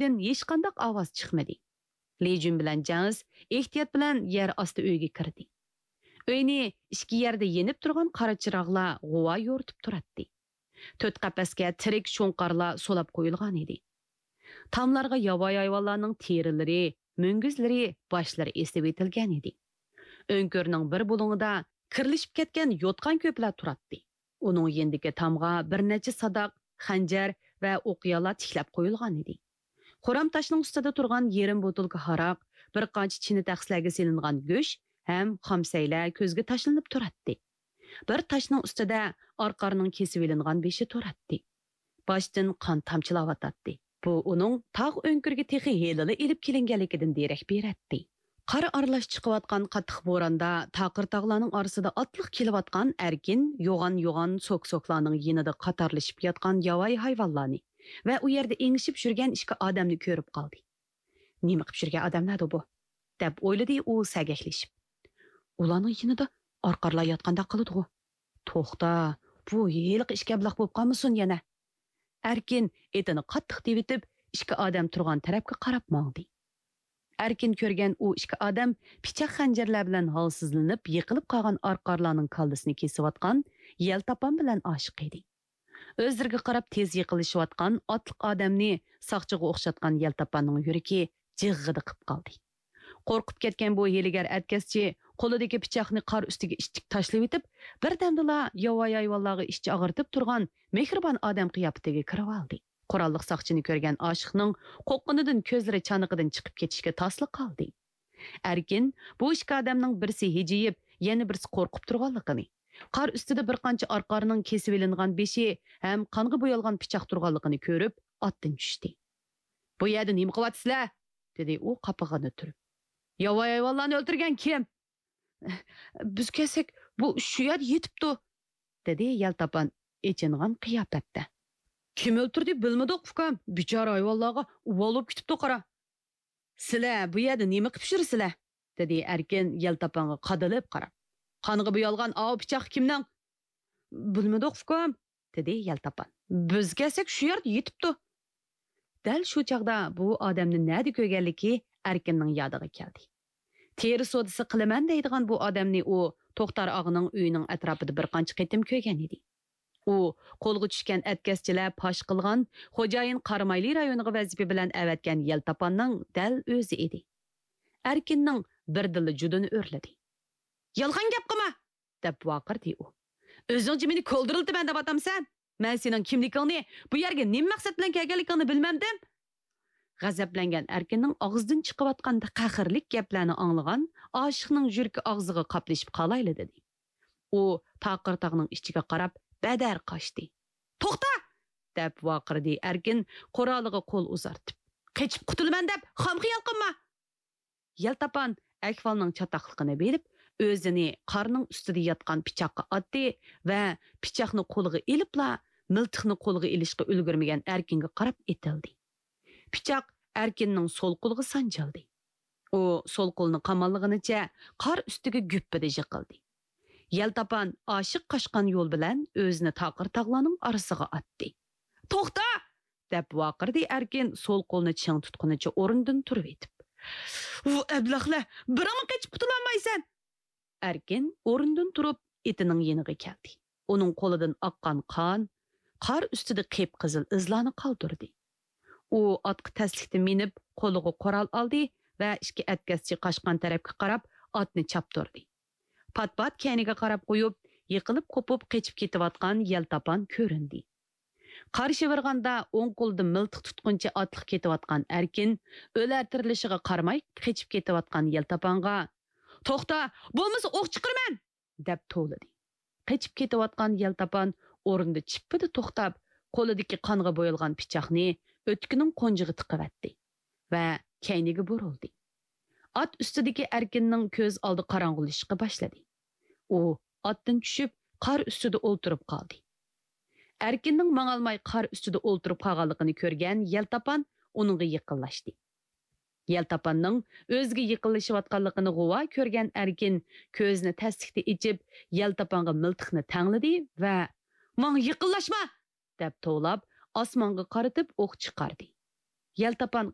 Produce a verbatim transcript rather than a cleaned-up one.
ئىشىكتىن ھېچقانداق ئاۋاز چىقمىدى. لىجۈن بىلەن جاڭس ئېھتىيات بىلەن يەر ئاستى ئۆيگە كىردى. ئۆينى ئىككى يەردە يېنىپ تۇرغان قارا چىراغلار غۇۋا يورۇتۇپ تۇراتتى. تۆت قەپەسكە تىرىك شۇڭقارلار سولاپ قويۇلغان ئىدى. تاملارغا ياۋايى ھايۋانلارنىڭ تېرىلىرى، مۈڭگۈزلىرى، باشلىرى ئېسىۋېتىلگەن ئىدى. ئۆڭكۈرنىڭ بىر بۇلۇڭىدا كىرلىشىپ كەتكەن يوتقان كۆپلەر تۇراتتى. ئۇنىڭ يېنىدىكى تامغا بىر نەچچە ساداق، خەنجەر ۋە ئوقيالار تىكلەپ قويۇلغان ئىدى. خورام تاشنىڭ ئۈستىدە تۇرغان يېرىم بوتۇلكا ھاراق، بىر قانچە چىنە تەخسىلەرگە سېلىنغان گۆش ھەم خامسەيلەر كۆزگە تاشلىنىپ تۇراتتى. بىر تاشنىڭ ئۈستىدە ئارقارنىڭ كېسىۋېلىنغان بېشى تۇراتتى. باشتىن قان تامچىلاۋاتاتتى. بۇ ئۇنىڭ تاغ ئۆڭكۈرگە تېخى ھېلىلا ئېلىپ كېلىنگەنلىكىدىن دېرەك بېرەتتى. قار ئارىلاش چىقىۋاتقان قاتتىق بوراندا تاقىر تاغلارنىڭ ئارىسىدا ئاتلىق كېلىۋاتقان ئەركىن يوغان-يوغان سوك-سوكلارنىڭ يېنىدا قاتارلىشىپ ياتقان ياۋايى ھايۋانلارنى ۋە ئۇ يەردە ئېڭىشىپ يۈرگەن ئىككى ئادەمنى كۆرۈپ قالدى. «نېمە قىپ يۈرگەن ئادەملەردۇ بۇ؟» دەپ ئويلىدى ئۇ سەگەكلىشىپ. «ئۇلارنىڭ يېنىدا ئارقارلار ياتقانداق قىلىدىغۇ. توختا، بۇ ھېلىقى ئىككى ئەبلەخ بولۇپ قالمىسۇن يەنە؟» ئەركىن ئېتىنى قاتتىق تېۋىتىپ، ئىككى ئادەم تۇرغان تەرەپكە قاراپ ماڭدى. ئەركىن كۆرگەن ئۇ ئىككى ئادەم پىچاق خەنجەرلەر بىلەن ھالسىزلىنىپ يىقىلىپ قالغان ئارقارلارنىڭ كاللىسىنى كېسىۋاتقان يەلتاپان بىلەن ئاشىق ئىدى. ئۆزلىرىگە قاراپ تېز يېقىنلىشىۋاتقان ئاتلىق ئادەمنى ساقچىغا ئوخشاتقان يەلتاپاننىڭ يۈرىكى جىغغىدە قىپ قالدى. قورقۇپ كەتكەن بۇ ھىيلىگەر ئەتكەسچى قولىدىكى پىچاقنى قار ئۈستىگە ئىتتىك تاشلىۋېتىپ، بىردەمدىلا ياۋايى ھايۋانلارغا ئىچ ئاغرىتىپ تۇرغان مېھرىبان ئادەم قىياپىتىگە كىرىۋالدى. قوراللىق ساقچىنى كۆرگەن ئاشىقنىڭ قورققىنىدىن كۆزلىرى چانىقىدىن چىقىپ كېتىشكە تاسلا قالدى. ئەركىن بۇ ئىككى ئادەمنىڭ بىرسى ھىجىيىپ، يەنە بىرسى قورقۇپ تۇرغانلىقىنى، قار ئۈستىدە بىر قانچە ئارقارنىڭ كېسىۋېلىنغان بېشى ھەم قانغا بويالغان پىچاق تۇرغانلىقىنى كۆرۈپ، ئاتتىن چۈشتى. «بۇ يەردە نېمە قىلىۋاتىسىلەر؟» دېدى ئۇ قاپىقىنى تۈرۈپ. «ياۋايى ھايۋانلارنى ئۆلتۈرگەن كىم؟» «بىز كەلسەك، بۇ شۇ يەردە يېتىپتۇ»، دېدى يەلتاپان ئېچىنغان قىياپەتتە. «كىم ئۆلتۈردى بىلمىدۇق، ئۇكام. بىچارە ھايۋانلارغا ئۇۋال بولۇپ كېتىپتۇ، قارا.» «سىلەر بۇ يەردە نېمە قىپ يۈرىسىلەر؟» دېدى ئەركىن يەلتاپانغا قادىلىپ قاراپ. «قانغا بويالغان ئاۋۇ پىچاق كىمنىڭ؟» «بىلمىدۇق، ئۇكام»، دېدى يەلتاپان. «بىز كەلسەك، شۇ يەردە يېتىپتۇ.» دەل شۇ چاغدا بۇ ئادەمنى نەدە كۆرگەنلىكى ئەركىننىڭ يادىغا كەلدى. تېرە سودىسى قىلىمەن دەيدىغان بۇ ئادەمنى ئۇ توختار ئاغىنىڭ ئۆيىنىڭ ئەتراپىدا بىر قانچە قېتىم كۆرگەن ئىدى. ئۇ قولغا چۈشكەن ئەتكەسچىلەر پاش قىلغان خوجايىن قارامايلى رايونىغا ۋەزىپە بىلەن ئەۋەتكەن يەلتاپاننىڭ دەل ئۆزى ئىدى. ئەركىننىڭ بىردىنلا جۇدۇنى ئۆرلىدى. «يالغان گەپ قىلما!» دەپ ۋارقىرىدى ئۇ. «ئۆزۈڭچە مېنى كولدۇرلىتىمەن دەۋاتامسەن؟ مەن سېنىڭ كىملىكىڭنى، بۇ يەرگە نېمە مەقسەت بىلەن كەلگەنلىكىڭنى بىلمەمدىم.» غەزەپلەنگەن ئەركىننىڭ ئاغزىدىن چىقىۋاتقان قەھەرلىك گەپلەرنى ئاڭلىغان ئاشىقنىڭ يۈرىكى ئاغزىغا قاپلىشىپ قالايلا دېدى. ئۇ تاقىر تاغنىڭ ئىچىگە قاراپ بەدەر قاچتى. «توختا!» دەپ ۋارقىرىدى ئەركىن قورالىغا قول ئۇزارتىپ. «قېچىپ قۇتۇلىمەن دەپ خام خىيال قىلما!» يەلتاپان ئەھۋالنىڭ چاتاقلىقىنى بىلىپ، ئۆزىنى قارنىڭ ئۈستىدە ياتقان پىچاققا ئاتتى ۋە پىچاقنى قولىغا ئېلىپلا، مىلتىقنى قولىغا ئېلىشقا ئۈلگۈرمىگەن ئەركىنگە قاراپ ئېتىلدى. پىچاق ئەركىننىڭ سول قولىغا سانجىلدى. ئۇ سول قولىنى قاماللىغىنىچە قار ئۈستىگە گۈپپىدە يىقىلدى. يەلتاپان ئاشىق قاچقان يول بىلەن ئۆزىنى تاقىر تاغلارنىڭ ئارىسىغا ئاتتى. «توختا!» دەپ ۋارقىرىدى ئەركىن سول قولىنى چىڭ تۇتقىنىچە ئورنىدىن تۇرۇۋېتىپ. «ۋۇ ئەبلەخلەر، بىرىڭمۇ قېچىپ قۇتۇلالمايسەن!» ئەركىن ئورنىدىن تۇرۇپ ئېتىنىڭ يېنىغا كەلدى. ئۇنىڭ قولىدىن ئاققان قان قار ئۈستىدە قىپقىزىل ئىزلارنى قالدۇردى. ئۇ ئاتقا تەسلىكتە مىنىپ، قولىغا قورال ئالدى ۋە ئىككى ئەتكەسچى قاچقان تەرەپكە قاراپ ئاتنى چاپتۇردى. پات-پات كەينىگە قاراپ قويۇپ، يىقىلىپ قوپۇپ قېچىپ كېتىۋاتقان يەلتاپان كۆرۈندى. قار شىۋىرغاندا ئوڭ قولىدا مىلتىق تۇتقىنىچە ئاتلىق كېتىۋاتقان ئەركىن ئۆلەر تىرىلىشىغا قارىماي قېچىپ كېتىۋاتقان يەلتاپانغا، «توختا، بولمىسا ئوق چىقىرىمەن!» دەپ توۋلىدى. قېچىپ كېتىۋاتقان يەلتاپان ئورنىدا چىپپىدە توختاپ، قولىدىكى قانغا بويالغان پىچاقنى ئۆتۈكىنىڭ قونجىغا تىقىۋەتتى ۋە كەينىگە بۇرۇلدى. ئات ئۈستىدىكى ئەركىننىڭ كۆز ئالدى قاراڭغۇلىشىشقا باشلىدى. ئۇ ئاتتىن چۈشۈپ، قار ئۈستىدە ئولتۇرۇپ قالدى. ئەركىننىڭ ماڭالماي قار ئۈستىدە ئولتۇرۇپ قالغانلىقىنى كۆرگەن يەلتاپان ئۇنىڭغا يېقىنلاشتى. يەلتاپاننىڭ ئۆزىگە يېقىنلىشىۋاتقانلىقىنى غۇۋا كۆرگەن ئەركىن كۆزىنى تەسلىكتە ئېچىپ، يەلتاپانغا مىلتىقنى تەڭلىدى ۋە، «ماڭا يېقىنلاشما!» دەپ توۋلاپ، ئاسمانغا قارىتىپ ئوق چىقاردى. يەلتاپان